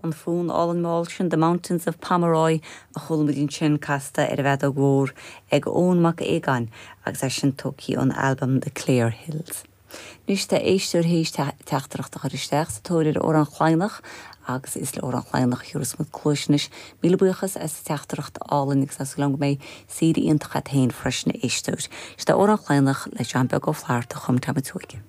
An fonn álainn mall sin 'The Mountains of Pomeroy' a chuala muid ansin casta ar an bhfeadóg mhór ag Eoin Mac Aogáin agus é sin tógtha ón albam The Clare Hills. Anois tá éisteoir théis teachtaireacht a chur isteach sa tóir ar Amhrán Laighneach agus is le Amhrán Laighneach a thabharfas muid cluais anois. Míle buíochas as an teachtaireacht álainn agus tá súil agam go mbeidh saoire iontach agat féin freisin a éisteoir. Seo Amhrán Laighneach le John Beag Ó Flatharta a chum Tom a' tSeoige.